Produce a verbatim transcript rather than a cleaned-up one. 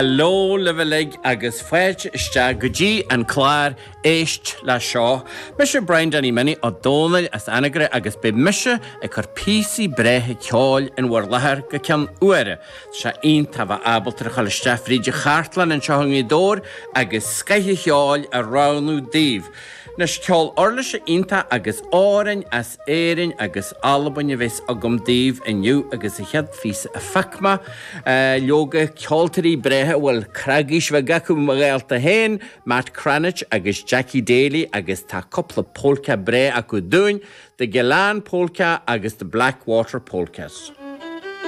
Hello libh uilig agus fáilte isteach go dtí an clár Éist le Seo. Mise Brian Danny Minnie Ó Dónaill as Anagaire agus beidh mise ag cur píosaí breátha ceoil in bhur láthair go ceann uaire. Tá sé iontach bheith ábalta a dhul isteach fríd an chartlann anseo i nGaoth Dobhair agus scoth an cheoil a roghnú daoibh. Anois ceol uirlise iontach agus amhráin as Éirinn agus Albain a bheas agam daoibh inniu agus an chéad phíosa a phioc mé, leoga ceoltóirí breátha a bhfuil cnagaois bheag acu mo ghaolta féin, Matt Cranitch agus Jackie Daly agus tá cúpla polca breá acu dúinn, The Gillane Polka agus The Blackwater Polkas.